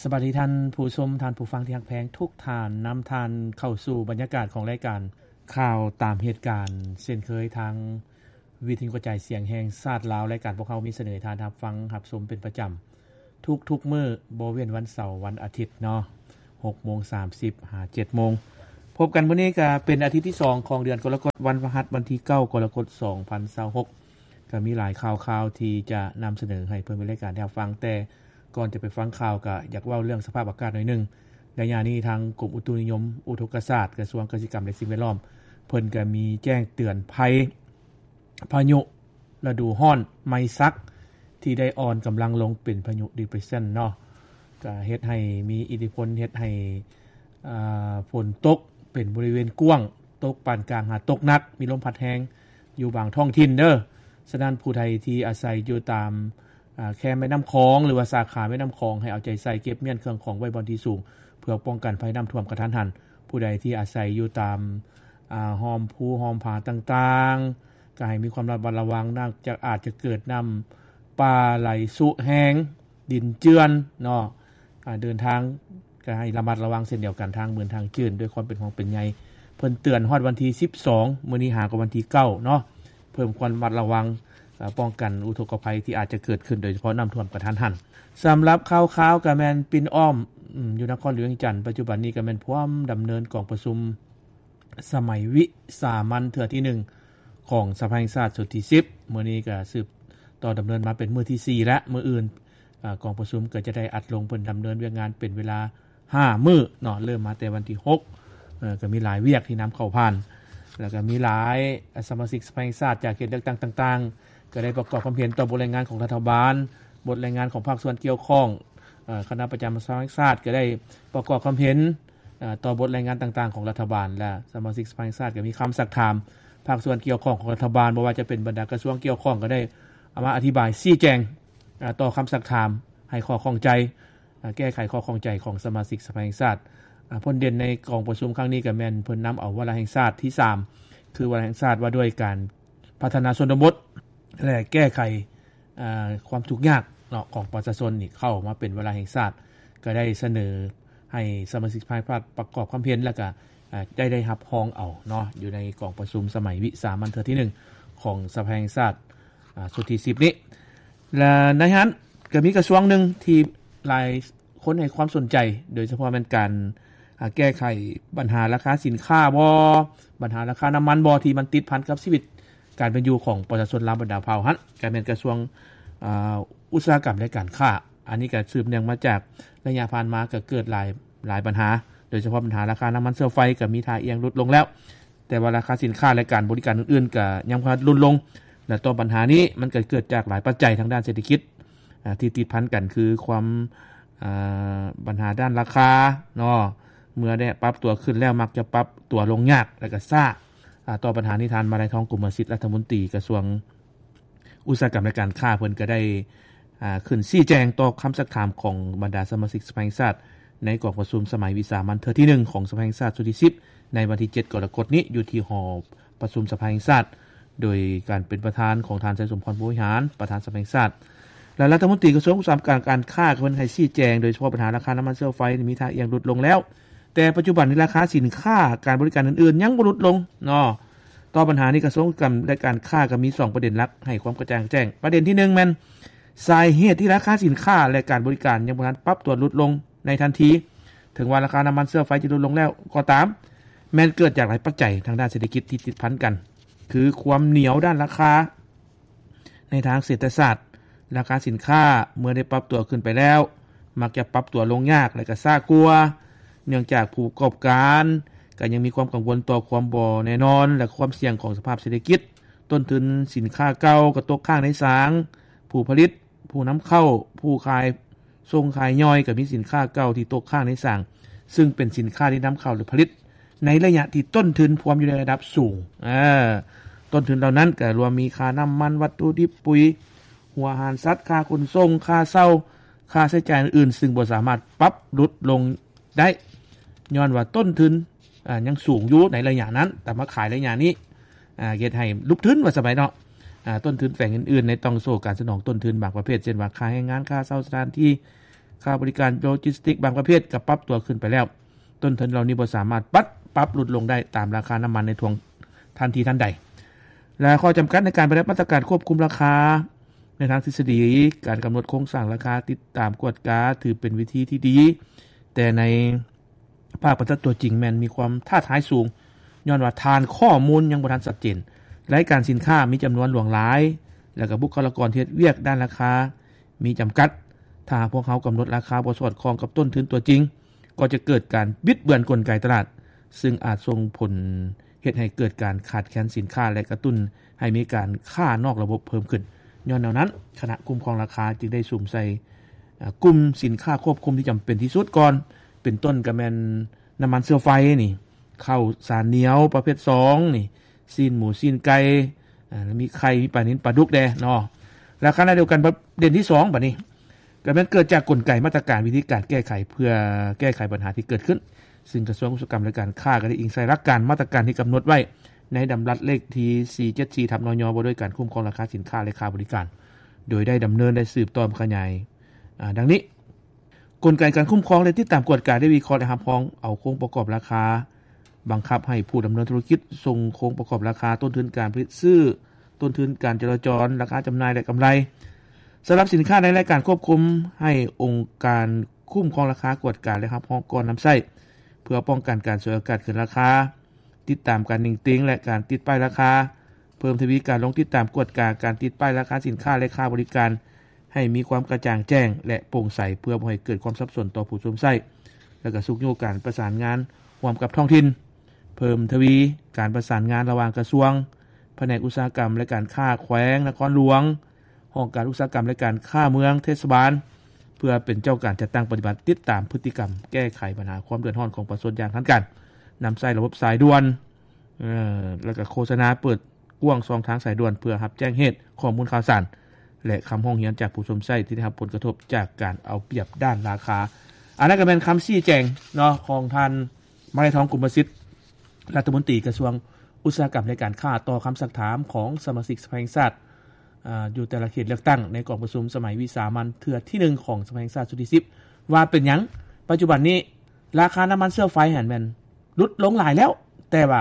ສະບາຍດີທ່ານຜູ້ຊົມ, ທ່ານຜູ້ຟັງທີ່ຮັກແພງທຸກທ່ານ, ນຳທ່ານເຂົ້າສູ່ບັນຍາກາດຂອງລາຍການຂ່າວຕາມເຫດການ ເຊັ່ນເຄີຍທາງວິທະຍຸກະຈາຍສຽງແຫ່ງຊາດລາວ. ລາຍການພວກເຮົາມີສະເໜີໃຫ້ທ່ານຮັບຟັງຮັບຊົມເປັນປະຈຳທຸກໆມື້ ບໍ່ເວັ້ນວັນເສົາ, ວັນອາທິດເນາະ, ຫົກໂມງສາມສິບຫາເຈັດໂມງ. ພົບກັນມື້ນີ້ກະເປັນອາທິດທີສອງຂອງເດືອນກໍລະກົດ, ວັນພະຫັດ ວັນທີເກົ້າ ກໍລະກົດ ສອງພັນຊາວຫົກ. ກະມີຫຼາຍຂ່າວຄາວທີ່ຈະນຳສະເໜີໃຫ້ເພື່ອນແຟນລາຍການໄດ້ຮັບຟັງ, ແຕ່ກ່ອນຈະໄປຟັງຂ່າວ ກະຢາກເວົ້າເລື່ອງສະພາບອາກາດໜ້ອຍໜຶ່ງ. ໄລຍະນີ້ທາງກົມອຸຕຸນິຍົມອຸທົກກະສາດ ກະຊວງກະສິກຳ ແລະ ສິ່ງແວດລ້ອມ ເພິ່ນກະມີແຈ້ງເຕືອນໄພພາຍຸລະດູຮ້ອນໄມຊັກ ທີ່ໄດ້ອ່ອນກຳລັງລົງເປັນພາຍຸດີເປຣສຊັນເນາະ, ກະເຮັດໃຫ້ມີອິດທິພົນ ເຮັດໃຫ້ ອາ ຝົນຕົກເປັນບໍລິເວນກວ້າງ, ຕົກປານກາງຫາຕົກໜັກ, ມີລົມພັດແຮງຢູ່ບາງທ້ອງຖິ່ນເດີ. ສະນັ້ນ ຜູ້ໃດທີ່ອາໄສຢູ່ຕາມ ອາ ແຄມແມ່ນ້ຳຂອງ ຫຼືວ່າສາຂາແມ່ນ້ຳຂອງ ໃຫ້ເອົາໃຈໃສ່ເກັບມ້ຽນເຄື່ອງຂອງໄວ້ບ່ອນທີ່ສູງ ເພື່ອປ້ອງກັນໄພນ້ຳຖ້ວມກະທັນຫັນ. ຜູ້ໃດທີ່ອາໄສຢູ່ຕາມ ອາ ຮ່ອມພູຮ່ອມຜາຕ່າງໆ ກະໃຫ້ມີຄວາມລະມັດລະວັງ, ເນື່ອງຈາກອາດຈະເກີດນ້ຳປ່າໄຫຼຊຸແຮງ, ດິນເຈື່ອນເນາະ. ອາ ເດີນທາງກະໃຫ້ລະມັດລະວັງເຊັ່ນດຽວກັນ, ທາງມື່ນທາງຈື່ນ ດ້ວຍຄວາມເປັນຫ່ວງເປັນໃຍ. ເພິ່ນເຕືອນຮອດວັນທີສິບສອງ, ມື້ນີ້ຫາກະວັນທີເກົ້າເນາະ. ເພີ່ມຄວາມລະມັດລະວັງ, ອາ ປ້ອງກັນອຸທົກກະໄພທີ່ອາດຈະເກີດຂຶ້ນ, ໂດຍສະເພາະນ້ຳຖ້ວມກະທັນຫັນ. ສຳລັບຂ່າວຄາວກະແມ່ນປິ່ນອ້ອມ ອືມ ຢູ່ນະຄອນຫຼວງວຽງຈັນ, ປັດຈຸບັນນີ້ກະແມ່ນພວມດຳເນີນກອງປະຊຸມສະໄໝວິສາມັນເທື່ອທີໜຶ່ງຂອງສະພາແຫ່ງຊາດຊຸດທີສິບ. ມື້ນີ້ກະສືບຕໍ່ດຳເນີນມາເປັນມື້ທີສີ່ແລ້ວ. ມື້ອື່ນ ອາ ກອງປະຊຸມກໍຈະໄດ້ອັດລົງເພິ່ນດຳເນີນວຽກງານເປັນເວລາຫ້າມື້ເນາະ, ເລີ່ມມາແຕ່ວັນທີຫົກ. ເອີ ກໍມີຫຼາຍວຽກທີ່ນຳເຂົ້າຜ່ານ ແລ້ວກໍມີຫຼາຍ ອາ ສະມາຊິກສະພາແຫ່ງຊາດຈາກເຂດເລືອກຕັ້ງຕ່າງໆ ກໍໄດ້ປະກອບຄວາມເຫັນຕໍ່ບົດລາຍງານຂອງລັດຖະບານ, ບົດລາຍງານຂອງພາກສ່ວນກ່ຽວຂ້ອງ, ເອີ ຄະນະປະຈຳສະພາແຫ່ງຊາດກໍໄດ້ປະກອບຄວາມເຫັນ ອາ ຕໍ່ບົດລາຍງານຕ່າງໆຂອງລັດຖະບານ ແລະ ສະມາຊິກສະພາແຫ່ງຊາດກໍມີຄຳຊັກຖາມພາກສ່ວນກ່ຽວຂ້ອງຂອງລັດຖະບານ, ບໍ່ວ່າຈະເປັນບັນດາກະຊວງກ່ຽວຂ້ອງກໍໄດ້ເອົາມາອະທິບາຍຊີ້ແຈງ ອາ ຕໍ່ຄຳຊັກຖາມ, ໃຫ້ຂໍ້ຂ້ອງໃຈ, ອາ ແກ້ໄຂຂໍ້ຂ້ອງໃຈຂອງສະມາຊິກສະພາແຫ່ງຊາດ. ອາ ຜົນເດັ່ນໃນກອງປະຊຸມຄັ້ງນີ້ກໍແມ່ນເພິ່ນນຳເອົາວາລະແຫ່ງຊາດທີສາມ ຄືວາລະແຫ່ງຊາດວ່າດ້ວຍການພັດທະນາຊົນນະບົດ ແລະ ແກ້ໄຂ ອາ ຄວາມທຸກຍາກເນາະ ຂອງປະຊາຊົນນີ້ເຂົ້າມາເປັນວາລະແຫ່ງຊາດ, ກໍໄດ້ສະເໜີໃຫ້ສະມາຊິກສະພາແຫ່ງຊາດປະກອບຄວາມເຫັນ ແລ້ວກໍ ອາ ໄດ້ ໄດ້ຮັບຮອງເອົາເນາະ ຢູ່ໃນກອງປະຊຸມສະໄໝວິສາມັນເທື່ອທີໜຶ່ງຂອງສະພາແຫ່ງຊາດ ອາ ຊຸດທີສິບນີ້. ແລະ ໃນນັ້ນກໍມີກະຊວງໜຶ່ງທີ່ຫຼາຍຄົນໃຫ້ຄວາມສົນໃຈ, ໂດຍສະເພາະແມ່ນການ ອາ ແກ້ໄຂບັນຫາລາຄາສິນຄ້າບໍ, ບັນຫາລາຄານ້ຳມັນບໍ ທີ່ມັນຕິດພັນກັບຊີວິດການເປັນຢູ່ຂອງປະຊາຊົນລາວບັນດາເຜົ່າຫັ້ນ, ກໍແມ່ນກະຊວງ ອາ ອຸດສາຫະກຳ ແລະ ການຄ້າ. ອັນນີ້ກໍສືບເນື່ອງມາຈາກໄລຍະຜ່ານມາກໍເກີດຫຼາຍ ຫຼາຍບັນຫາ, ໂດຍສະເພາະບັນຫາລາຄານ້ຳມັນເຊື້ອໄຟກໍມີທ່າອ່ຽງຫຼຸດລົງແລ້ວ, ແຕ່ວ່າລາຄາສິນຄ້າ ແລະ ການບໍລິການອື່ນໆກໍຍັງບໍ່ທັນຫຼຸດລົງ. ແລະ ຕໍ່ບັນຫານີ້ມັນກໍເກີດຈາກຫຼາຍປັດໄຈທາງດ້ານເສດຖະກິດ ອາ ທີ່ຕິດພັນກັນ ຄືຄວາມ ອາ ບັນຫາດ້ານລາຄາເນາະ, ເມື່ອໄດ້ປັບຕົວຂຶ້ນແລ້ວມັກຈະປັບຕົວລົງຍາກ ແລະ ກໍຊ້າ. ອາ ຕໍ່ບັນຫານີ້ ທ່ານ ມາໄລທອງ ກົມມະສິດ ລັດຖະມົນຕີກະຊວງອຸດສາຫະກຳ ແລະ ການຄ້າ ເພິ່ນກໍໄດ້ ອາ ຂຶ້ນຊີ້ແຈງຕໍ່ຄຳຊັກຖາມຂອງບັນດາສະມາຊິກສະພາແຫ່ງຊາດ ໃນກອງປະຊຸມສະໄໝວິສາມັນເທື່ອທີໜຶ່ງຂອງສະພາແຫ່ງຊາດຊຸດທີສິບ ໃນວັນທີເຈັດ ກໍລະກົດນີ້ ຢູ່ທີ່ຫໍປະຊຸມສະພາແຫ່ງຊາດ ໂດຍການເປັນປະທານຂອງທ່ານ ໄຊສົມພອນ ພົມວິຫານ ປະທານສະພາແຫ່ງຊາດ ແລະ ລັດຖະມົນຕີກະຊວງອຸດສາຫະກຳ ການຄ້າ ເພິ່ນໃຫ້ຊີ້ແຈງ ໂດຍສະເພາະບັນຫາລາຄານ້ຳມັນເຊື້ອໄຟນີ້ມີທ່າອ່ຽງຫຼຸດລົງແລ້ວ, ແຕ່ປັດຈຸບັນນີ້ລາຄາສິນຄ້າ ການບໍລິການອື່ນໆຍັງບໍ່ຫຼຸດລົງເນາະ. ຕໍ່ບັນຫານີ້ ກະຊວງອຸດສາຫະກຳ ແລະ ການຄ້າກໍມີສອງປະເດັນຫຼັກໃຫ້ຄວາມກະຈ່າງແຈ້ງ. ປະເດັນທີໜຶ່ງແມ່ນ ສາເຫດທີ່ລາຄາສິນຄ້າ ແລະ ການບໍລິການຍັງບໍ່ທັນປັບຕົວຫຼຸດລົງໃນທັນທີ, ເຖິງວ່າລາຄານ້ຳມັນເຊື້ອໄຟຈະຫຼຸດລົງແລ້ວກໍຕາມ, ແມ່ນເກີດຈາກຫຼາຍປັດໄຈທາງດ້ານເສດຖະກິດທີ່ຕິດພັນກັນ, ຄືຄວາມໜຽວດ້ານລາຄາໃນທາງເສດຖະສາດ, ລາຄາສິນຄ້າເມື່ອໄດ້ປັບຕົວຂຶ້ນໄປແລ້ວ ມັກຈະປັບຕົວລົງຍາກ ແລະ ກໍຊ້າກວ່າ, ເນື່ອງຈາກຜູ້ປະກອບການກໍຍັງມີຄວາມກັງວົນຕໍ່ຄວາມບໍ່ແນ່ນອນ ແລະ ຄວາມສ່ຽງຂອງສະພາບເສດຖະກິດ. ຕົ້ນທຶນສິນຄ້າເກົ່າກໍຕົກຄ້າງໃນສາງ, ຜູ້ຜະລິດ, ຜູ້ນຳເຂົ້າ, ຜູ້ຂາຍສົ່ງຂາຍຍ່ອຍ ກໍມີສິນຄ້າເກົ່າທີ່ຕົກຄ້າງໃນສາງ, ຊຶ່ງເປັນສິນຄ້າທີ່ນຳເຂົ້າ ຫຼື ຜະລິດໃນໄລຍະທີ່ຕົ້ນທຶນພວມຢູ່ໃນລະດັບສູງ. ເອີ ຕົ້ນທຶນເຫຼົ່ານັ້ນກໍລວມມີຄ່ານ້ຳມັນ, ວັດຖຸດິບ, ປຸ໋ຍ, ຫົວອາຫານສັດ, ຄ່າຂົນສົ່ງ, ຄ່າເຊົ່າ, ຄ່າໃຊ້ຈ່າຍອື່ນໆ ຊຶ່ງບໍ່ສາມາດປັບຫຼຸດລົງໄດ້ ຍ້ອນວ່າຕົ້ນທຶນ ອາ ຍັງສູງຢູ່ໃນໄລຍະນັ້ນ, ແຕ່ມາຂາຍໄລຍະນີ້ ອາ ເຮັດໃຫ້ຫຼຸບທຶນວ່າຊັ້ນໄປເນາະ. ອາ ຕົ້ນທຶນແຝງອື່ນໆ ໃນຕ່ອງໂສ້ການສະໜອງຕົ້ນທຶນບາງປະເພດ ເຊັ່ນວ່າ ຄ່າແຮງງານ, ຄ່າເຊົ່າສະຖານທີ່, ຄ່າບໍລິການໂລຈິສຕິກບາງປະເພດກໍປັບຕົວຂຶ້ນໄປແລ້ວ. ຕົ້ນທຶນເຫຼົ່ານີ້ບໍ່ສາມາດປັບ ປັບຫຼຸດລົງໄດ້ຕາມລາຄານ້ຳມັນໃນທ່ວງທັນທີທັນໃດ. ແລະ ຂໍ້ຈຳກັດໃນການປະຕິບັດມາດຕະການຄວບຄຸມລາຄາ ໃນທາງທິດສະດີ, ການກຳນົດໂຄງສ້າງລາຄາ, ຕິດຕາມກວດກາ ຖືເປັນວິທີທີ່ດີ, ແຕ່ໃນ ພາກປະຕິບັດຕົວຈິງແມ່ນມີຄວາມທ້າທາຍສູງ, ຍ້ອນວ່າຖານຂໍ້ມູນຍັງບໍ່ທັນຊັດເຈນ, ລາຍການສິນຄ້າມີຈຳນວນຫຼວງຫຼາຍ, ແລະ ກະບຸກຄະລາກອນທີ່ເຮັດວຽກດ້ານລາຄາມີຈຳກັດ. ຖ້າຫາກພວກເຮົາກຳນົດລາຄາບໍ່ສອດຄ່ອງກັບຕົ້ນທຶນຕົວຈິງ, ກໍຈະເກີດການບິດເບືອນກົນໄກຕະຫຼາດ, ຊຶ່ງອາດສົ່ງຜົນເຮັດໃຫ້ເກີດການຂາດແຄນສິນຄ້າ ແລະ ກະຕຸ້ນໃຫ້ມີການຄ້ານອກລະບົບເພີ່ມຂຶ້ນ. ຍ້ອນແນວນັ້ນ, ຄະນະຄຸ້ມຄອງລາຄາຈຶ່ງໄດ້ສຸມໃສ່ ອາ ກຸ່ມສິນຄ້າຄວບຄຸມທີ່ຈຳເປັນທີ່ສຸດກ່ອນ, ເປັນຕົ້ນກໍແມ່ນນ້ຳມັນເຊື້ອໄຟນີ້, ເຂົ້າສານໜຽວປະເພດສອງນີ້, ຊີ້ນໝູ ຊີ້ນໄກ່, ອາ ແລ້ວມີໄຂ່, ມີປານິນ, ປາດຸກແດ່ເນາະ. ແລ້ວຂະນະດຽວກັນ ປະເດັນທີສອງບາດນີ້ ກໍແມ່ນເກີດຈາກກົນໄກມາດຕະການວິທີການແກ້ໄຂ ເພື່ອແກ້ໄຂບັນຫາທີ່ເກີດຂຶ້ນ, ຊຶ່ງກະຊວງອຸດສາຫະກຳ ແລະ ການຄ້າກໍໄດ້ອີງໃສ່ຫຼັກການມາດຕະການທີ່ກຳນົດໄວ້ໃນດຳລັດເລກທີສີ່ເຈັດສີ່ທັບ ນຍ ວ່າດ້ວຍການຄຸ້ມຄອງລາຄາສິນຄ້າ ແລະ ຄ່າບໍລິການ, ໂດຍໄດ້ດຳເນີນ ແລະ ສືບຕໍ່ຂະຫຍາຍ ອາ ດັ່ງນີ້. ກົນໄກການຄຸ້ມຄອງ ແລະ ຕິດຕາມກວດກາ ໄດ້ວິເຄາະ ແລະ ຮັບຮອງເອົາໂຄງປະກອບລາຄາບັງຄັບໃຫ້ຜູ້ດຳເນີນທຸລະກິດສົ່ງໂຄງປະກອບລາຄາ, ຕົ້ນທຶນການຜະລິດຊື້, ຕົ້ນທຶນການຈະລາຈອນ, ລາຄາຈຳໜ່າຍ ແລະ ກຳໄລ ສຳລັບສິນຄ້າໃນລາຍການຄວບຄຸມໃຫ້ອົງການຄຸ້ມຄອງລາຄາກວດກາ ແລະ ຮັບຮອງກ່ອນນຳໃຊ້ ເພື່ອປ້ອງກັນການສວຍໂອກາດຂຶ້ນລາຄາ, ຕິດຕາມການເໜັງຕີງ ແລະ ການຕິດປ້າຍລາຄາ, ເພີ່ມທະວີການລົງຕິດຕາມກວດກາການຕິດປ້າຍລາຄາສິນຄ້າ ແລະ ຄ່າບໍລິການ ໃຫ້ມີຄວາມກະຈ່າງແຈ້ງ ແລະ ໂປ່ງໃສ ເພື່ອບໍ່ໃຫ້ເກີດຄວາມສັບສົນຕໍ່ຜູ້ຊົມໃຊ້, ແລະ ກະຊຸກຍູ້ການປະສານງານຮ່ວມກັບທ້ອງຖິ່ນ, ເພີ່ມທະວີການປະສານງານລະຫວ່າງກະຊວງ, ພະແນກອຸດສາຫະກຳ ແລະ ການຄ້າແຂວງນະຄອນຫຼວງ, ຫ້ອງການອຸດສາຫະກຳ ແລະ ການຄ້າເມືອງ, ເທດສະບານ ເພື່ອເປັນເຈົ້າການຈັດຕັ້ງປະຕິບັດ, ຕິດຕາມພຶດຕິກຳ, ແກ້ໄຂບັນຫາຄວາມເດືອດຮ້ອນຂອງປະຊາຊົນຢ່າງທັນການ, ນຳໃຊ້ລະບົບສາຍດ່ວນ ເອີ ແລ້ວກໍໂຄສະນາເປີດກວ້າງຊ່ອງທາງສາຍດ່ວນເພື່ອຮັບແຈ້ງເຫດ, ຂໍ້ມູນຂ່າວສານ ແລະ ຄຳຮ້ອງຮຽນຈາກຜູ້ຊົມໃຊ້ທີ່ໄດ້ຮັບຜົນກະທົບຈາກການເອົາປຽບດ້ານລາຄາ. ອັນນັ້ນກໍແມ່ນຄຳຊີ້ແຈງເນາະ ຂອງທ່ານ ມະໄລທອງ ກຸມມະສິດ ລັດຖະມົນຕີກະຊວງອຸດສາຫະກຳ ແລະ ການຄ້າ ຕໍ່ຄຳຊັກຖາມຂອງສະມາຊິກສະພາແຫ່ງຊາດ ອາ ຢູ່ແຕ່ລະເຂດເລືອກຕັ້ງ ໃນກອງປະຊຸມສະໄໝວິສາມັນເທື່ອທີໜຶ່ງຂອງສະພາແຫ່ງຊາດຊຸດທີສິບ ວ່າເປັນຫຍັງປັດຈຸບັນນີ້ລາຄານ້ຳມັນເຊື້ອໄຟຫັ້ນແມ່ນຫຼຸດລົງຫຼາຍແລ້ວ, ແຕ່ວ່າ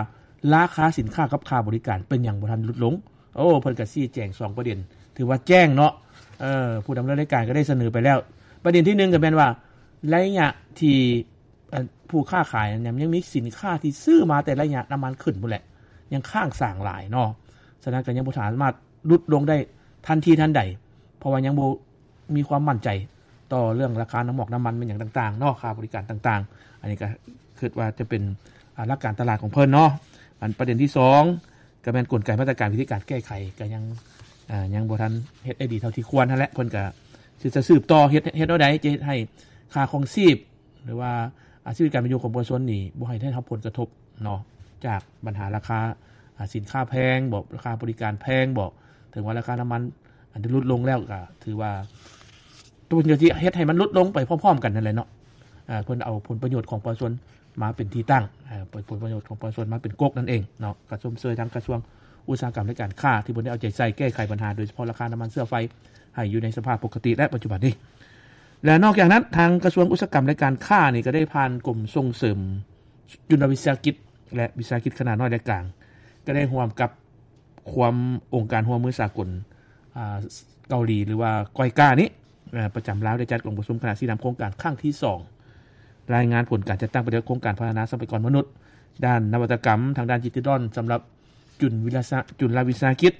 ລາຄາສິນຄ້າກັບຄ່າບໍລິການເປັນຫຍັງບໍ່ທັນຫຼຸດລົງ? ໂອ້ ເພິ່ນກໍຊີ້ແຈງສອງປະເດັນ ຖືວ່າແຈ້ງເນາະ. ເອີ ຜູ້ດຳເນີນລາຍການກໍໄດ້ສະເໜີໄປແລ້ວ. ປະເດັນທີໜຶ່ງກໍແມ່ນວ່າ ໄລຍະທີ່ ອັນ ຜູ້ຄ້າຂາຍນັ້ນຍັງມີສິນຄ້າທີ່ຊື້ມາແຕ່ໄລຍະນ້ຳມັນຂຶ້ນພຸ້ນແຫຼະ ຍັງຄ້າງສາງຫຼາຍເນາະ. ສະນັ້ນກໍຍັງບໍ່ສາມາດຫຼຸດລົງໄດ້ທັນທີທັນໃດ ເພາະວ່າຍັງບໍ່ມີຄວາມໝັ້ນໃຈຕໍ່ເລື່ອງລາຄານ້ຳໝອກນ້ຳມັນແມ່ນຫຍັງຕ່າງໆເນາະ, ຄ່າບໍລິການຕ່າງໆ. ອັນນີ້ກໍຄິດວ່າຈະເປັນ ອາ ຫຼັກການຕະຫຼາດຂອງເພິ່ນເນາະ. ອັນປະເດັນທີສອງ ກໍແມ່ນກົນໄກມາດຕະການວິທີການແກ້ໄຂ ກໍຍັງ ອາ ຍັງບໍ່ທັນເຮັດໄດ້ດີເທົ່າທີ່ຄວນຫັ້ນແຫຼະ. ເພິ່ນກໍຊິ ຈະສືບຕໍ່ເຮັດ ເຮັດແນວໃດຈະເຮັດໃຫ້ຄ່າຄອງຊີບ ຫຼືວ່າ ອາ ຊີວິດການເປັນຢູ່ຂອງປະຊາຊົນນີ້ບໍ່ໃຫ້ໄດ້ຮັບຜົນກະທົບເນາະ ຈາກບັນຫາລາຄາ ອາ ສິນຄ້າແພງບໍ ລາຄາບໍລິການແພງບໍ. ເຖິງວ່າລາຄານ້ຳມັນ ອາ ຈະຫຼຸດລົງແລ້ວ ກໍຖືວ່າ ຕົວນີ້ຈະເຮັດໃຫ້ມັນຫຼຸດລົງໄປພ້ອມໆກັນນັ້ນແຫຼະເນາະ. ອາ ເພິ່ນເອົາຜົນປະໂຫຍດຂອງປະຊາຊົນມາເປັນທີ່ຕັ້ງ ເອີ ເອົາຜົນປະໂຫຍດຂອງປະຊາຊົນມາເປັນກົກນັ້ນເອງເນາະ. ກໍຊົມເຊີຍທາງກະຊວງອຸດສາຫະກຳ ແລະ ການຄ້າ ທີ່ເພິ່ນໄດ້ເອົາໃຈໃສ່ແກ້ໄຂບັນຫາ ໂດຍສະເພາະລາຄານ້ຳມັນເຊື້ອໄຟ ໃຫ້ຢູ່ໃນສະພາບປົກກະຕິ ແລະ ປັດຈຸບັນນີ້. ແລະ ນອກຈາກນັ້ນ ທາງກະຊວງອຸດສາຫະກຳ ແລະ ການຄ້ານີ້ກໍໄດ້ຜ່ານກົມສົ່ງເສริມຈຸນລະວິສາຫະກິດ ແລະ ວິສາຫະກິດຂະໜາດນ້ອຍ ແລະ ກາງ ກໍໄດ້ຮ່ວມກັບ ຄວາມ ອົງການຮ່ວມມືສາກົນ ອາ ເກົາຫຼີ ຫຼືວ່າ ກອຍກາ ນີ້ ອາ ປະຈຳລາວ ໄດ້ຈັດກອງປະຊຸມຄະນະຊີ້ນຳໂຄງການຄັ້ງທີສອງ ລາຍງານຜົນການຈັດຕັ້ງປະຕິບັດໂຄງການພັດທະນາຊັບພະຍາກອນມະນຸດ ດ້ານນະວັດຕະກຳ ທາງດ້ານດິຈິຕອນ ສຳລັບຈຸນວິລະສະ ຈຸນລະວິສາຫະກິດ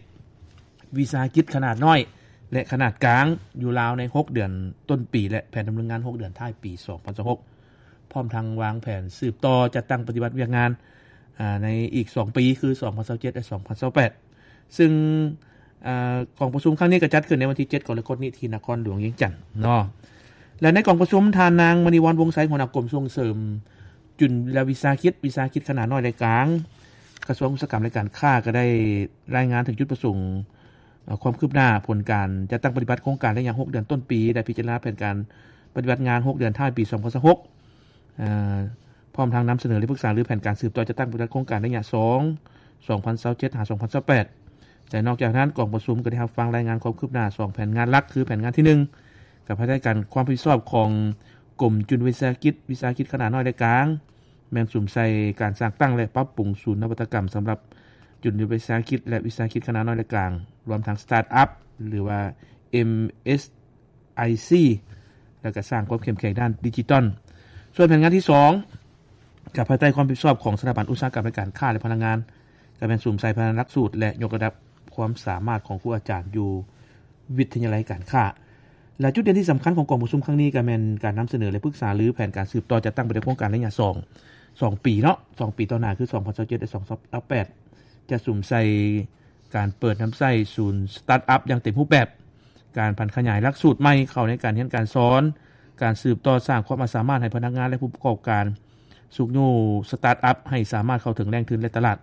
ວິສາຫະກິດຂະໜາດນ້ອຍ ແລະ ຂະໜາດກາງ ຢູ່ລາວໃນຫົກເດືອນຕົ້ນປີ ແລະ ແຜນດຳເນີນງານຫົກເດືອນທ້າຍປີສອງພັນຊາວຫົກ ພ້ອມທັງວາງແຜນສືບຕໍ່ຈັດຕັ້ງປະຕິບັດວຽກງານ ອາ ໃນອີກສອງປີ ຄື ສອງພັນຊາວເຈັດ ແລະ ສອງພັນຊາວແປດ ຊຶ່ງ ອາ ກອງປະຊຸມຄັ້ງນີ້ກໍຈັດຂຶ້ນໃນວັນທີເຈັດ ກໍລະກົດນີ້ ທີ່ນະຄອນຫຼວງວຽງຈັນເນາະ. ແລະ ໃນກອງປະຊຸມ ທ່ານນາງ ມະນີວອນ ວົງໄຊ ຫົວໜ້າກົມສົ່ງເສີມຈຸນລະວິສາຫະກິດ ວິສາຫະກິດຂະໜາດນ້ອຍ ແລະ ກາງ ກະຊວງອຸດສາຫະກຳ ແລະ ການຄ້າ ກໍໄດ້ລາຍງານເຖິງຈຸດປະສົງ ເອີ ຄວາມຄືບໜ້າຜົນການຈັດຕັ້ງປະຕິບັດໂຄງການໄລຍະຫົກເດືອນຕົ້ນປີ ແລະ ພິຈາລະນາແຜນການປະຕິບັດງານຫົກເດືອນທ້າຍປີສອງພັນຊາວຫົກ ເອີ ພ້ອມທັງນຳສະເໜີ ແລະ ປຶກສາລືແຜນການສືບຕໍ່ຈັດຕັ້ງປະຕິບັດໂຄງການໄລຍະສອງ ສອງພັນຊາວເຈັດ ຫາ ສອງພັນຊາວແປດ ແລະ ນອກຈາກນັ້ນ ກອງປະຊຸມກໍໄດ້ຮັບຟັງລາຍງານຄວາມຄືບໜ້າສອງແຜນງານຫຼັກ ຄືແຜນງານທີໜຶ່ງ ກັບພາຍໃຕ້ການ ຄວາມຮັບຜິດຊອບຂອງກົມຈຸລະວິສາຫະກິດ, ວິສາຫະກິດຂະໜາດນ້ອຍ ແລະ ກາງ, ແມ່ນສຸມໃສ່ການສ້າງຕັ້ງ ແລະ ປັບປຸງສູນນະວັດຕະກຳສຳລັບຈຸລະວິສາຫະກິດ ແລະ ວິສາຫະກິດຂະໜາດນ້ອຍ ແລະ ກາງ, ລວມທັງສະຕາດອັບ ຫຼືວ່າ ເອັມເອສໄອຊີ ແລະ ກະສ້າງຄວາມເຂັ້ມແຂງດ້ານດິຈິຕອນ. ສ່ວນແຜນງານທີສອງ ກັບພາຍໃຕ້ຄວາມຮັບຜິດຊອບຂອງສະຖາບັນອຸດສາຫະກຳ ແລະ ການຄ້າ ແລະ ພະລັງງານ, ກະແມ່ນສຸມໃສ່ພັດທະນາຫຼັກສູດ ແລະ ຍົກລະດັບຄວາມສາມາດຂອງຄູອາຈານຢູ່ວິທະຍາໄລການຄ້າ ແລະ ຈຸດເດັ່ນທີ່ສຳຄັນຂອງກອງປະຊຸມຄັ້ງນີ້ ກະແມ່ນການນຳສະເໜີ ແລະ ປຶກສາລືແຜນການສືບຕໍ່ຈັດຕັ້ງປະຕິບັດໂຄງການໄລຍະສອງ ສອງປີເນາະ, ສອງປີຕໍ່ໜ້າ ຄື ສອງພັນຊາວເຈັດ ແລະ ສອງພັນຊາວແປດ ຈະສຸມໃສ່ການເປີດນຳໃຊ້ສູນສະຕາດອັບຢ່າງເຕັມຮູບແບບ, ການຜັນຂະຫຍາຍຫຼັກສູດໃໝ່ເຂົ້າໃນການຮຽນການສອນ, ການສືບຕໍ່ສ້າງຄວາມອາດສາມາດໃຫ້ພະນັກງານ ແລະ ຜູ້ປະກອບການ, ຊຸກຍູ້ສະຕາດອັບໃຫ້ສາມາດເຂົ້າເຖິງແຫຼ່ງທຶນ ແລະ ຕະຫຼາດ.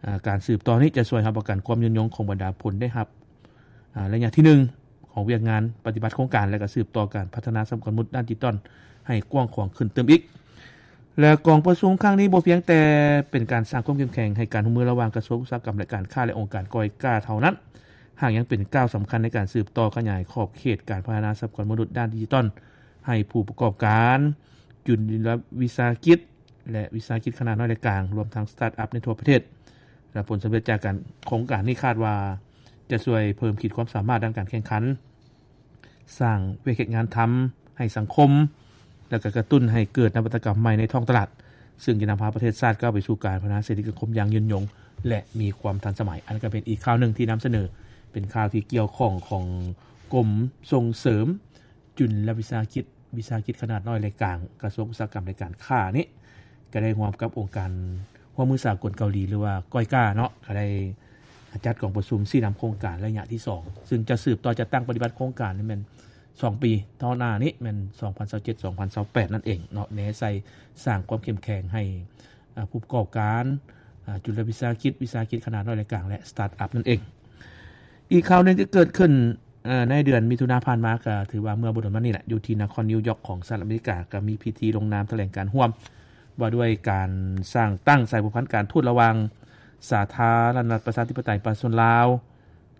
ອາ ການສືບຕໍ່ນີ້ຈະຊ່ວຍຮັບປະກັນຄວາມຍືນຍົງຂອງບັນດາຜົນໄດ້ຮັບ ອາ ໄລຍະທີໜຶ່ງຂອງວຽກງານປະຕິບັດໂຄງການ ແລະ ກະສືບຕໍ່ການພັດທະນາຊັບພະຍາກອນມະນຸດດ້ານດິຈິຕອນໃຫ້ກວ້າງຂວາງຂຶ້ນຕື່ມອີກ. ແລະ ກອງປະຊຸມຄັ້ງນີ້ບໍ່ພຽງແຕ່ເປັນການສ້າງຄວາມເຂັ້ມແຂງໃຫ້ການຮ່ວມມືລະຫວ່າງກະຊວງອຸດສາຫະກຳ ແລະ ການຄ້າ ແລະ ອົງການກອຍກາເທົ່ານັ້ນ, ຫາກຍັງເປັນກ້າວສຳຄັນໃນການສືບຕໍ່ຂະຫຍາຍຂອບເຂດການພັດທະນາຊັບພະຍາກອນມະນຸດດ້ານດິຈິຕອນໃຫ້ຜູ້ປະກອບການ, ຈຸລະວິສາຫະກິດ ແລະ ວິສາຫະກິດຂະໜາດນ້ອຍ ແລະ ກາງ, ລວມທັງສະຕາດອັບໃນທົ່ວປະເທດ. ແລະ ຜົນສຳເລັດຈາກການ ໂຄງການນີ້ຄາດວ່າຈະຊ່ວຍເພີ່ມຂີດຄວາມສາມາດດ້ານການແຂ່ງຂັນ, ສ້າງວຽກເຮັດງານທຳໃຫ້ສັງຄົມ ແລະ ກະກະຕຸ້ນໃຫ້ເກີດນະວັດຕະກຳໃໝ່ໃນທ້ອງຕະຫຼາດ, ເຊິ່ງຈະນຳພາປະເທດຊາດກ້າວໄປສູ່ການພັດທະນາເສດຖະກິດສັງຄົມຢ່າງຍືນຍົງ ແລະ ມີຄວາມທັນສະໄໝ. ອັນນີ້ກະເປັນອີກຂ່າວໜຶ່ງທີ່ນຳສະເໜີ, ເປັນຂ່າວທີ່ກ່ຽວຂ້ອງຂອງກົມສົ່ງເສີມ ຈຸລະວິສາຫະກິດ, ວິສາຫະກິດຂະໜາດນ້ອຍ ແລະ ກາງ, ກະຊວງອຸດສາຫະກຳ ແລະ ການຄ້ານີ້ ກະໄດ້ຮ່ວມກັບອົງການຮ່ວມມືສາກົນເກົາຫຼີ ຫຼືວ່າ ກອຍກາ ເນາະ, ກະໄດ້ຈັດກອງປະຊຸມຊີ້ນຳໂຄງການໄລຍະທີສອງ ເຊິ່ງຈະສືບຕໍ່ຈັດຕັ້ງປະຕິບັດໂຄງການນີ້ແມ່ນສອງປີຕໍ່ໜ້ານີ້ ແມ່ນສອງພັນຊາວເຈັດ ສອງພັນຊາວແປດນັ້ນເອງເນາະ, ແນໃສ່ສ້າງຄວາມເຂັ້ມແຂງໃຫ້ ອາ ຜູ້ປະກອບການ, ອາ ຈຸລະວິສາຫະກິດ, ວິສາຫະກິດຂະໜາດນ້ອຍ ແລະ ກາງ ແລະ ສະຕາດອັບນັ້ນເອງ. ອີກຂ່າວໜຶ່ງທີ່ເກີດຂຶ້ນ ເອີ ໃນເດືອນມິຖຸນາຜ່ານມາ ກະຖືວ່າເມື່ອບໍ່ດົນມານີ້ແຫຼະ ຢູ່ທີ່ນະຄອນນິວຢອກຂອງສະຫະລັດອາເມລິກາ ກະມີພິທີລົງນາມຖະແຫຼງການຮ່ວມ ວ່າດ້ວຍການສ້າງຕັ້ງສາຍພົວພັນການທູດລະຫວ່າງສາທາລະນະລັດປະຊາທິປະໄຕປະຊາຊົນລາວ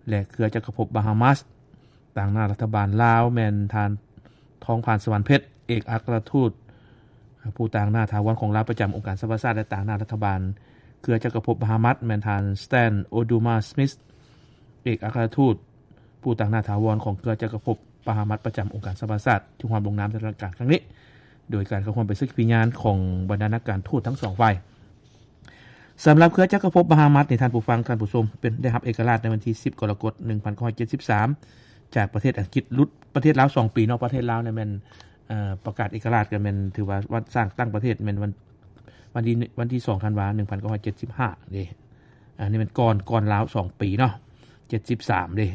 ແລະ ເຄືອຈັກກະພົບບາຮາມາສ. ຕາງໜ້າລັດຖະບານລາວແມ່ນທ່ານ ທອງຜານ ສະຫວັນເພັດ ເອກອັກຄະລັດທູດຜູ້ຕາງໜ້າຖາວອນຂອງລາວປະຈຳອົງການສະຫະປະຊາຊາດ ແລະ ຕາງໜ້າລັດຖະບານເຄືອຈັກກະພົບບາຮາມາສ ແມ່ນທ່ານ ສະແຕນ ໂອດູມາ ສະມິດ ເອກອັກຄະລັດທູດຜູ້ຕາງໜ້າຖາວອນຂອງເຄືອຈັກກະພົບບາຮາມາສປະຈຳອົງການສະຫະປະຊາຊາດ ທີ່ຮ່ວມລົງນາມໃນຖະແຫຼງການຄັ້ງນີ້ ໂດຍການເຂົ້າຮ່ວມເປັນສັກຂີພະຍານຂອງບັນດານັກການທູດທັງສອງຝ່າຍ. ສຳລັບເຄືອຈັກກະພົບບາຮາມາສນີ້ ທ່ານຜູ້ຟັງ ທ່ານຜູ້ຊົມ ເປັນ ໄດ້ຮັບເອກະລາດໃນວັນທີສິບ ກໍລະກົດ ໜຶ່ງພັນເກົ້າຮ້ອຍເຈັດສິບສາມ ຈາກປະເທດອັງກິດ, ຫຼຸດປະເທດລາວສອງປີເນາະ, ປະເທດລາວນີ້ແມ່ນ ເອີ ປະກາດເອກະລາດກະແມ່ນ ຖືວ່າວັນສ້າງຕັ້ງປະເທດແມ່ນວັນ ວັນທີ ວັນທີສອງ ທັນວາ ໜຶ່ງພັນເກົ້າຮ້ອຍເຈັດສິບຫ້າເດ້. ອັນນີ້ແມ່ນກ່ອນ ກ່ອນລາວສອງປີເນາະ ເຈັດສິບສາມເດ້.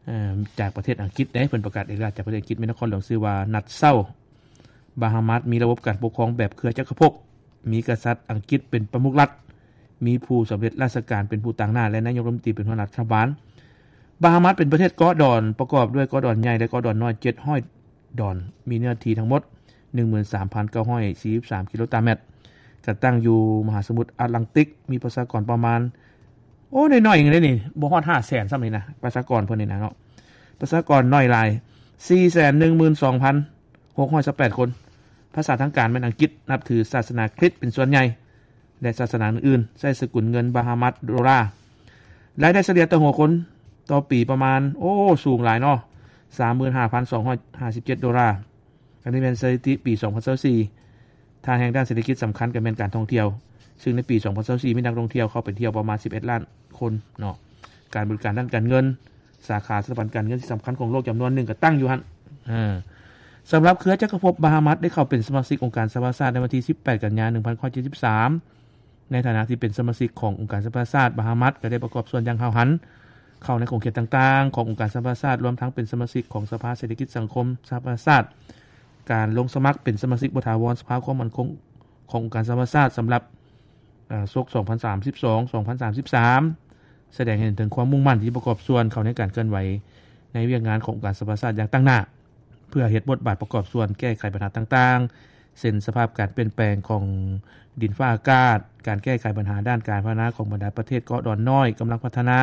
ເອີ ຈາກປະເທດອັງກິດເດ້ ເພິ່ນປະກາດເອກະລາດຈາກປະເທດອັງກິດ, ແມ່ນນະຄອນຫຼວງຊື່ວ່າ ນັດເຊົາ. ບາຮາມາສມີລະບົບການປົກຄອງແບບເຄືອຈັກກະພົບ, ມີກະສັດອັງກິດເປັນປະມຸກລັດ, ມີຜູ້ສຳເລັດລາຊະການເປັນຜູ້ຕາງໜ້າ ແລະ ນາຍົກລັດຖະມົນຕີເປັນຫົວໜ້າລັດຖະບານ. ບາຮາມາສເປັນປະເທດເກາະດອນ ປະກອບດ້ວຍເກາະດອນໃຫຍ່ ແລະ ເກາະດອນນ້ອຍ ເຈັດຮ້ອຍດອນ, ມີເນື້ອທີ່ທັງໝົດ ໜຶ່ງໝື່ນສາມພັນເກົ້າຮ້ອຍສີ່ສິບສາມກິໂລຕາແມັດ, ກະຕັ້ງຢູ່ມະຫາສະໝຸດອາດລັງຕິກ, ມີປະຊາກອນປະມານ ໂອ້ ນ້ອຍໆເດ້ນີ້, ບໍ່ຮອດຫ້າແສນຊ້ຳນີ້ນະ ປະຊາກອນເພິ່ນນີ້ນະເນາະ, ປະຊາກອນໜ້ອຍຫຼາຍ ສີ່ແສນໜຶ່ງໝື່ນສອງພັນຫົກຮ້ອຍຊາວແປດຄົນ. ພາສາທາງການແມ່ນອັງກິດ, ນັບຖືສາສະໜາຄຣິດເປັນສ່ວນໃຫຍ່ ແລະ ສາສະໜາອື່ນໆ, ໃຊ້ສະກຸນເງິນບາຮາມາສໂດລາ. ລາຍໄດ້ສະເລ່ຍຕໍ່ຫົວຄົນຕໍ່ປີປະມານ ໂອ້ ສູງຫຼາຍເນາະ ສາມໝື່ນຫ້າພັນສອງຮ້ອຍຫ້າສິບເຈັດໂດລາ. ອັນນີ້ແມ່ນສະຖິຕິປີສອງພັນຊາວສີ່. ທ່າທາງດ້ານເສດຖະກິດສຳຄັນກະແມ່ນການທ່ອງທ່ຽວ, ເຊິ່ງໃນປີສອງພັນຊາວສີ່ ມີນັກທ່ອງທ່ຽວເຂົ້າໄປທ່ຽວປະມານສິບເອັດລ້ານຄົນເນາະ. ການບໍລິການດ້ານການເງິນ, ສາຂາສະຖາບັນການເງິນທີ່ສຳຄັນຂອງໂລກຈຳນວນໜຶ່ງກະຕັ້ງຢູ່ຫັ້ນ. ເອີ ສຳລັບເຄືອຈັກກະພົບບາຮາມາສໄດ້ເຂົ້າເປັນສະມາຊິກອົງການສະຫະປະຊາຊາດໃນວັນທີສິບແປດ ກັນຍາ ໜຶ່ງພັນເກົ້າຮ້ອຍເຈັດສິບສາມ. ໃນຖານະທີ່ເປັນສະມາຊິກຂອງອົງການສະຫະປະຊາຊາດ, ບາຮາມາສກະໄດ້ປະກອບສ່ວນຢ່າງຫ້າວຫັນເຂົ້າໃນຂົງເຂດຕ່າງໆຂອງອົງການສະຫະປະຊາຊາດ, ລວມທັງເປັນສະມາຊິກຂອງສະພາເສດຖະກິດສັງຄົມສະຫະປະຊາຊາດ, ການລົງສະໝັກເປັນສະມາຊິກບໍ່ຖາວອນສະພາຄວາມໝັ້ນຄົງຂອງອົງການສະຫະປະຊາຊາດສຳລັບ ອາ ສົກສອງພັນສາມສິບສອງ ສອງພັນສາມສິບສາມ ສະແດງໃຫ້ເຫັນເຖິງຄວາມມຸ່ງໝັ້ນທີ່ປະກອບສ່ວນເຂົ້າໃນການເຄື່ອນໄຫວໃນວຽກງານຂອງອົງການສະຫະປະຊາຊາດຢ່າງຕັ້ງໜ້າ ເພື່ອເຮັດບົດບາດປະກອບສ່ວນແກ້ໄຂບັນຫາຕ່າງໆ ເຊັ່ນ ສະພາບການປ່ຽນແປງຂອງດິນຟ້າອາກາດ, ການແກ້ໄຂບັນຫາດ້ານການພັດທະນາຂອງບັນດາປະເທດເກາະດອນນ້ອຍກຳລັງພັດທະນາ,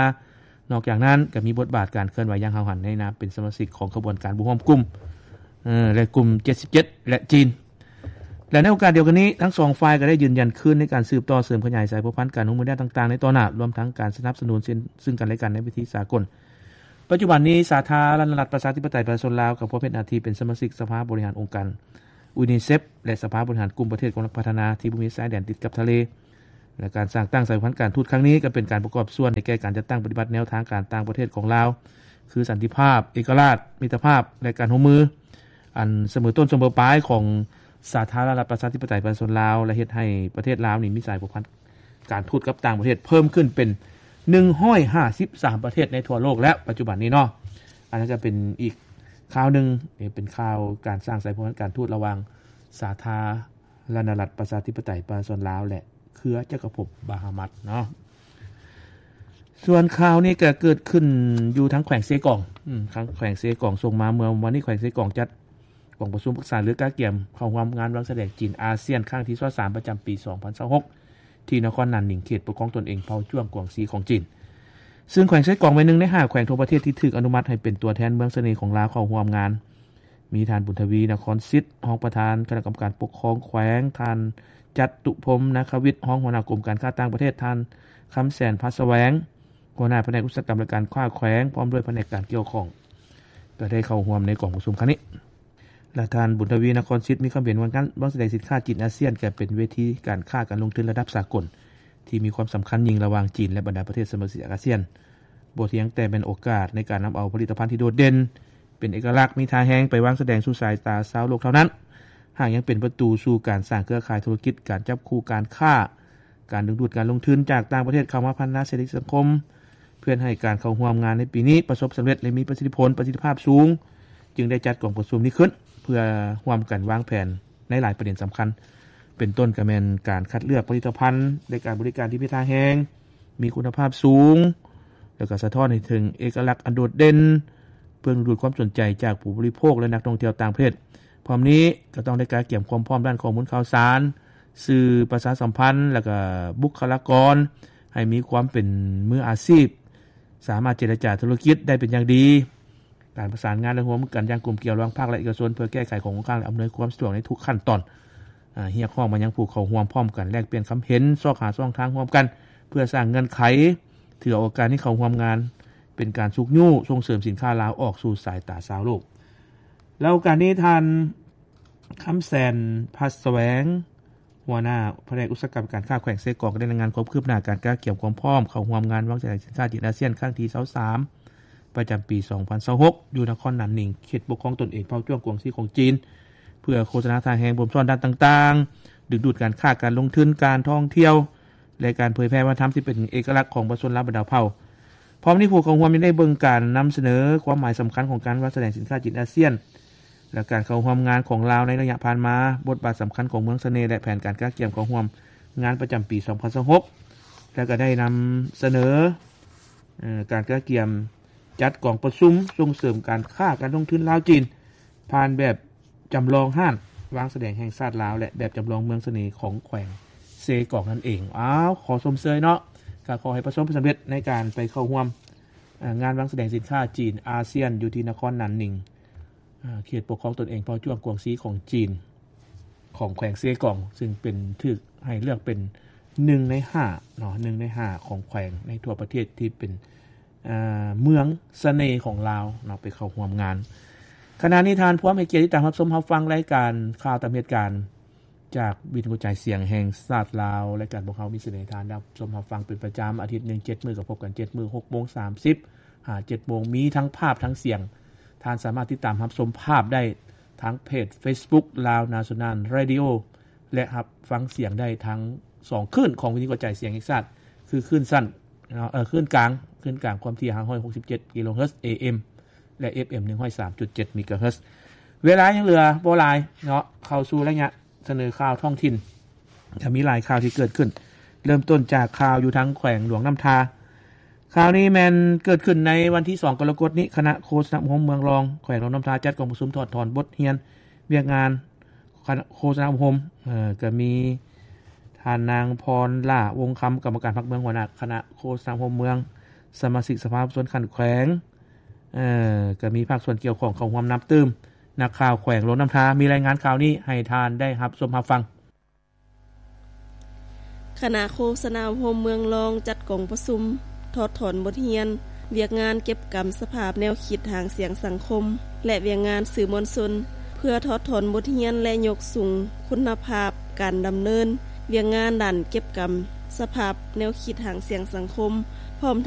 ນອກຈາກນັ້ນ ກໍມີບົດບາດການເຄື່ອນໄຫວຢ່າງຫ້າວຫັນໃນນາມເປັນສະມາຊິກຂອງຂະບວນການບໍ່ຮ່ວມກຸ່ມ ເອີ ແລະ ກຸ່ມເຈັດສິບເຈັດ ແລະ ຈີນ. ແລະ ໃນໂອກາດດຽວກັນນີ້ ທັງສອງຝ່າຍກໍໄດ້ຢືນຢັນຄືນໃນການສືບຕໍ່ເສີມຂະຫຍາຍສາຍພົວພັນການຮ່ວມມືດ້ານຕ່າງໆໃນຕໍ່ໜ້າ, ລວມທັງການສະໜັບສະໜູນເຊິ່ງກັນແລະກັນໃນເວທີສາກົນ. ປັດຈຸບັນນີ້ ສາທາລະນະລັດປະຊາທິປະໄຕປະຊາຊົນລາວກໍພົບເຮັດໜ້າທີ່ເປັນສະມາຊິກສະພາບໍລິຫານອົງການຢູນິເຊັບ ແລະ ສະພາບໍລິຫານກຸ່ມປະເທດກຳລັງພັດທະນາທີ່ບໍ່ມີຊາຍແດນຕິດກັບທະເລ. ແລະ ການສ້າງຕັ້ງສາຍພັນການທູດຄັ້ງນີ້ ກໍເປັນການປະກອບສ່ວນໃນແກ່ການຈັດຕັ້ງປະຕິບັດແນວທາງການຕ່າງປະເທດຂອງລາວ ຄື ສັນຕິພາບ, ເອກະລາດ, ມິດຕະພາບ ແລະ ການຮ່ວມມື ອັນສະເໝີຕົ້ນສະເໝີປາຍຂອງສາທາລະນະລັດປະຊາທິປະໄຕປະຊາຊົນລາວ ແລະ ເຮັດໃຫ້ປະເທດລາວນີ້ມີສາຍພົວພັນການທູດກັບຕ່າງປະເທດເພີ່ມຂຶ້ນເປັນໜຶ່ງຮ້ອຍຫ້າສິບສາມປະເທດໃນທົ່ວໂລກແລ້ວ ປັດຈຸບັນນີ້ເນາະ. ອັນນັ້ນກໍເປັນອີກຂ່າວໜຶ່ງ, ນີ້ເປັນຂ່າວການສ້າງສາຍພົວພັນການທູດລະຫວ່າງສາທາລະນະລັດປະຊາທິປະໄຕປະຊາຊົນລາວ ແລະ ເຄືອຈັກກະພົບບາຮາມັດເນາະ. ສ່ວນຂ່າວນີ້ກໍເກີດຂຶ້ນຢູ່ທາງແຂວງເຊກອງ, ອືມ ທາງແຂວງເຊກອງສົ່ງມາເມື່ອວານນີ້, ແຂວງເຊກອງຈັດກອງປະຊຸມປຶກສາເລື່ອງກະກຽມເຂົ້າຮ່ວມງານວັງສະແດງຈີນອາຊຽນຄັ້ງທີຊາວສາມ ປະຈຳປີສອງພັນຊາວຫົກ ທີ່ນະຄອນໜານໜິງ ເຂດປົກຄອງຕົນເອງເຜົ່າຈ້ວງກວາງຊີຂອງຈີນ. ຊຶ່ງແຂວງເຊກອງເປັນໜຶ່ງໃນຫ້າແຂວງທົ່ວປະເທດທີ່ຖືກອະນຸມັດໃຫ້ເປັນຕົວແທນເມືອງສະເໜ່ຂອງລາວເຂົ້າຮ່ວມງານ. ມີທ່ານ ບຸນທະວີ ນະຄອນສິດ ຮອງປະທານຄະນະກຳມະການປົກຄອງແຂວງ, ທ່ານ ຈັດຕຸພົມ ນາຄະວິດ ຮອງຫົວໜ້າກົມການຄ້າຕ່າງປະເທດ, ທ່ານ ຄຳແສນ ພັດສະແຫວງ ຫົວໜ້າພະແນກອຸດສາຫະກຳ ແລະ ການຄ້າແຂວງ ພ້ອມດ້ວຍພະແນກການກ່ຽວຂ້ອງ ກໍໄດ້ເຂົ້າຮ່ວມໃນກອງປະຊຸມຄັ້ງນີ້. ແລະ ທ່ານ ບຸນທະວີ ນະຄອນສິດ ມີຄຳເຫັນວ່າ ງານວັງສະແດງສິນຄ້າຈີນອາຊຽນ ກໍເປັນເວທີການຄ້າການລົງທຶນລະດັບສາກົນ ທີ່ມີຄວາມສຳຄັນຍິ່ງລະຫວ່າງຈີນ ແລະ ບັນດາປະເທດສະມາຊິກອາຊຽນ, ບໍ່ພຽງແຕ່ແມ່ນໂອກາດໃນການນຳເອົາຜະລິດຕະພັນທີ່ໂດດເດັ່ນ ເປັນເອກະລັກ ມີທ່າແຮງ ໄປວາງສະແດງສູ່ສາຍຕາຊາວໂລກເທົ່ານັ້ນ, ຫາກຍັງເປັນປະຕູສູ່ການສ້າງເຄືອຂ່າຍທຸລະກິດ, ການຈັບຄູ່ການຄ້າ, ການດຶງດູດການລົງທຶນຈາກຕ່າງປະເທດເຂົ້າມາພັດທະນາເສດຖະກິດສັງຄົມ, ເພື່ອໃຫ້ການເຂົ້າຮ່ວມງານໃນປີນີ້ປະສົບສຳເລັດ ແລະ ມີປະສິດທິຜົນ, ປະສິດທິພາບສູງ, ຈຶ່ງໄດ້ຈັດກອງປະຊຸມນີ້ຂຶ້ນ ເພື່ອຮ່ວມກັນວາງແຜນໃນຫຼາຍປະເດັນສຳຄັນ, ເປັນຕົ້ນກໍແມ່ນການຄັດເລືອກຜະລິດຕະພັນ ແລະ ການບໍລິການທີ່ມີທ່າແຮງ, ມີຄຸນນະພາບສູງ ແລ້ວກໍສະທ້ອນໃຫ້ເຖິງເອກະລັກອັນໂດດເດັ່ນ, ເພື່ອດຶງດູດຄວາມສົນໃຈຈາກຜູ້ບໍລິໂພກ ແລະ ນັກທ່ອງທ່ຽວຕ່າງປະເທດ. ພ້ອມນີ້ກໍຕ້ອງໄດ້ກະກຽມຄວາມພ້ອມດ້ານຂໍ້ມູນຂ່າວສານ, ສື່ປະຊາສຳພັນ ແລ້ວກໍບຸກຄະລາກອນ ໃຫ້ມີຄວາມເປັນມືອາຊີບ, ສາມາດເຈລະຈາທຸລະກິດໄດ້ເປັນຢ່າງດີ. ການປະສານງານ ແລະ ຮ່ວມມືກັນຢ່າງກົມກ່ຽວລະຫວ່າງພາກລັດ ເອກະຊົນ ເພື່ອແກ້ໄຂຂໍ້ຄົງຄ້າງ ແລະ ອຳນວຍຄວາມສະດວກໃນທຸກຂັ້ນຕອນ. ອາ ຮຽກຮ້ອງມາຍັງຜູ້ເຂົ້າຮ່ວມພ້ອມກັນແລກປ່ຽນຄຳເຫັນ, ຊອກຫາຊ່ອງທາງຮ່ວມກັນ ເພື່ອສ້າງເງື່ອນໄຂ, ຖືເອົາໂອກາດນີ້ເຂົ້າຮ່ວມງານ ເປັນການຊຸກຍູ້ສົ່ງເສີມສິນຄ້າລາວອອກສູ່ສາຍຕາຊາວໂລກ. ແລ້ວໂອກາດນີ້ ທ່ານ ຄຳແສນ ພັດສະແຫວງ ຫົວໜ້າພະແນກອຸດສາຫະກຳການຄ້າແຂວງເຊກອງ ກໍໄດ້ລາຍງານຄວາມຄືບໜ້າການກະກຽມຄວາມພ້ອມເຂົ້າຮ່ວມງານວັງສະແດງສິນຄ້າຈີນອາຊຽນຄັ້ງທີຊາວສາມ ປະຈຳປີສອງພັນຊາວຫົກ ຢູ່ນະຄອນໜານໜິງ ເຂດປົກຄອງຕົນເອງເຜົ່າຈ້ວງກວາງຊີຂອງຈີນ ເພື່ອໂຄສະນາທ່າແຮງບົ່ມຊ້ອນດ້ານຕ່າງໆ, ດຶງດູດການຄ້າ, ການລົງທຶນ, ການທ່ອງທ່ຽວ ແລະ ການເຜີຍແຜ່ວັດທະນະທຳທີ່ເປັນເອກະລັກຂອງປະຊາຊົນລາວບັນດາເຜົ່າ. ພ້ອມນີ້ ຜູ້ເຂົ້າຮ່ວມຍັງໄດ້ເບິ່ງການນຳສະເໜີຄວາມໝາຍສຳຄັນຂອງການວັດສະແດງສິນຄ້າຈີນອາຊຽນ ແລະ ການເຂົ້າຮ່ວມງານຂອງລາວໃນໄລຍະຜ່ານມາ, ບົດບາດສຳຄັນຂອງເມືອງສະເໜ່ ແລະ ແຜນການກະກຽມເຂົ້າຮ່ວມງານປະຈຳປີສອງພັນຊາວຫົກ ແລະ ກໍໄດ້ນຳສະເໜີ ເອີ ການກະກຽມຈັດກອງປະຊຸມສົ່ງເສີມການຄ້າການລົງທຶນລາວ-ຈີນ ຜ່ານແບບ ຈຳລອງຮ້ານວາງສະແດງແຫ່ງຊາດລາວ ແລະ ແບບຈຳລອງເມືອງສະເໜ່ຂອງແຂວງເຊກອງນັ້ນເອງ. ອ້າວ ຂໍຊົມເຊີຍເນາະ, ກໍຂໍໃຫ້ປະສົບຜົນສຳເລັດໃນການໄປເຂົ້າຮ່ວມ ເອີ ງານວາງສະແດງສິນຄ້າຈີນອາຊຽນ ຢູ່ທີ່ນະຄອນໜານໜິງ ເອີ ເຂດປົກຄອງຕົນເອງເຜົ່າຈ້ວງກວາງຊີຂອງຈີນ ຂອງແຂວງເຊກອງ, ຊຶ່ງເປັນ ຖືກໃຫ້ເລືອກເປັນໜຶ່ງໃນຫ້າເນາະ, ໜຶ່ງໃນຫ້າຂອງແຂວງໃນທົ່ວປະເທດທີ່ເປັນ ເອີ ເມືອງສະເໜ່ຂອງລາວເນາະ ໄປເຂົ້າຮ່ວມງານ. ຂະນະນີ້ທ່ານພວມໃຫ້ກຽດຕິດຕາມຮັບຊົມຮັບຟັງລາຍການຂ່າວຕາມເຫດການ ຈາກວິທະຍຸກະຈາຍສຽງແຫ່ງຊາດລາວ. ລາຍການພວກເຮົາມີສະເໜີໃຫ້ທ່ານຮັບຊົມຮັບຟັງເປັນປະຈຳ ອາທິດໜຶ່ງເຈັດມື້ ກໍພົບກັນເຈັດມື້ ຫົກໂມງສາມສິບຫາເຈັດໂມງ, ມີທັງພາບທັງສຽງ. ທ່ານສາມາດຕິດຕາມຮັບຊົມພາບໄດ້ທາງເພຈເຟສບຸກ Lao National Radio ແລະ ຮັບຟັງສຽງໄດ້ທັງສອງຄື້ນຂອງວິທະຍຸກະຈາຍສຽງແຫ່ງຊາດ ຄືຄື້ນສັ້ນເນາະ ເອີ ຄື້ນກາງ ຄື້ນກາງຄວາມຖີ່ຫ້າຮ້ອຍຫົກສິບເຈັດກິໂລເຮີດ ເອເອັມ ແລະ ເອັຟເອັມ ໜຶ່ງຮ້ອຍສາມຈຸດເຈັດເມກາເຮີດ. ເວລາຍັງເຫຼືອບໍ່ຫຼາຍເນາະ, ເຂົ້າສູ່ໄລຍະສະເໜີຂ່າວທ້ອງຖິ່ນ ຈະມີຫຼາຍຂ່າວທີ່ເກີດຂຶ້ນ. ເລີ່ມຕົ້ນຈາກຂ່າວຢູ່ທາງແຂວງຫຼວງນ້ຳທາ. ຂ່າວນີ້ແມ່ນເກີດຂຶ້ນໃນວັນທີສອງ ກໍລະກົດນີ້, ຄະນະໂຄສະນາອົບຮົມເມືອງລອງ ແຂວງຫຼວງນ້ຳທາ ຈັດກອງປະຊຸມຖອດຖອນບົດຮຽນວຽກງານ ຄະນະໂຄສະນາອົບຮົມ ເອີ ກໍມີທ່ານນາງ ພອນຫຼ້າ ວົງຄຳ ກຳມະການພັກເມືອງ ຫົວໜ້າຄະນະໂຄສະນາອົບຮົມເມືອງ, ສະມາຊິກສະພາຜູ້ແທນຂັ້ນແຂວງ ເອີ ກໍມີພາກສ່ວນກ່ຽວຂ້ອງເຂົ້າຮ່ວມນັບຕື່ມ. ນັກຂ່າວແຂວງຫຼວງນ້ຳທາມີລາຍງານຂ່າວນີ້ໃຫ້ທ່ານໄດ້ຮັບຊົມຮັບຟັງ. ຄະນະໂຄສະນາອົບຮົມເມືອງລອງຈັດກອງປະຊຸມຖອດຖອນບົດຮຽນ ວຽກງານເກັບກຳສະພາບແນວຄິດຫາງສຽງສັງຄົມ ແລະ ວຽກງານສື່ມວນຊົນ ເພື່ອຖອດຖອນບົດຮຽນ ແລະ ຍົກສູງຄຸນນະພາບການດຳເນີນວຽກງານດ້ານເກັບກຳສະພາບແນວຄິດຫາງສຽງສັງຄົມ ພ້ອມທັງ